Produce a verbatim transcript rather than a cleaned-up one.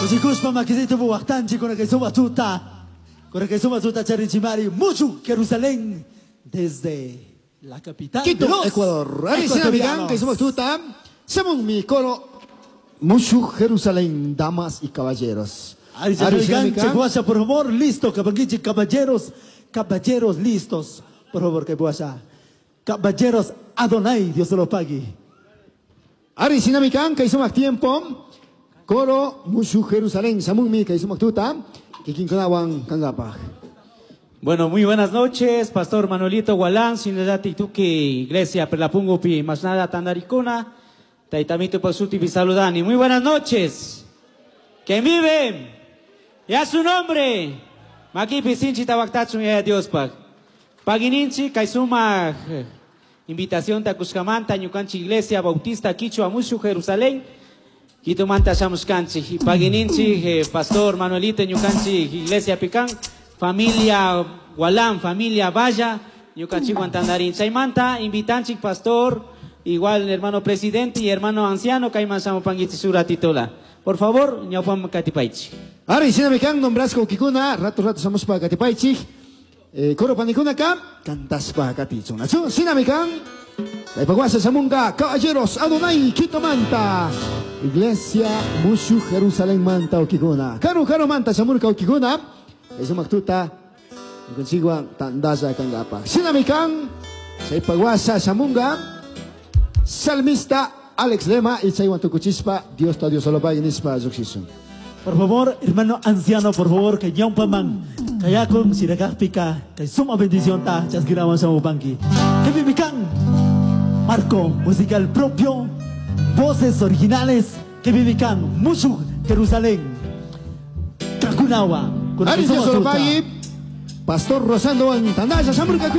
Kushikushpa makisito waqtanchik con que suma tuta. Con que suma tuta charinchimari. Mucho Jerusalén desde la capital Quito, de los Ecuador. Ari sinamikan, ecuatorianos. kay sumak tuta. Samun mi coro Mushu Jerusalén, damas y caballeros. Ari sinamikan, Cheguasha, por favor, listo, cabanguichi, caballeros, caballeros listos. Por favor, que guasha. Caballeros Adonai, Dios se lo pague. Ari sinamikan, kay sumak tiempo. Coro Mushu Jerusalén, samun mi kay sumak tuta. Kikinkunawan kangapaj. Bueno, muy buenas noches, Pastor Manuelito Gualán, Sinadati Tuki, Iglesia Perlapungupi, más nada Tandaricuna, Taitamito Pasuti Saludani. Muy buenas noches. ¿Quién vive? Ya su nombre. Makipi Sinchi Tabaktachun ya Dios pag. Pagininchi, Kaisuma, invitación Takuskamanta, Ñukanchi Iglesia Bautista, Quichua Mushu, Jerusalén. Quito Manta Shamuskanchi, Pagininchi, eh, Pastor Manuelito Ñukanchi, Iglesia Picán, familia Gualán, familia Valla, Ñukanchi Guantandarín. Chaymanta, invitanchi, Pastor, igual hermano presidente y hermano anciano, Kaiman Samopanguichi Sura Titola. Por favor, Ñaupam Katipaichi. Ari sinamikan, nombrasco kikuna, rato rato samuspa katipaichi. Eh, coro panikuna ka, cantaspa katichuna. Sinamikan, Taipaguasa Samunga, caballeros, Adonai, Quito Manta, Iglesia Mushu Jerusalén Manta Okiguna. Karu Karu Manta Samurka Okiguna, Eso maktuta, consigua Tandasa Kangapa. Sinamikan, Taipaguasa Samunga, Salmista Alex Lema y Chaywan Tukuchispa, Dios ta Dios solo pague nispa Zuxisun. Por favor, hermano anciano, por favor, que ñaupaman, kayakon sirakajpika, kay suma bendición ta, chasquiraman samupanki. Que vivican, marco musical propio, voces originales, que vivican, Mushu, Jerusalén, Kakunawa, con Ari que Dios suma solo tuta. pague, Pastor Rosando Tandasa Samurka.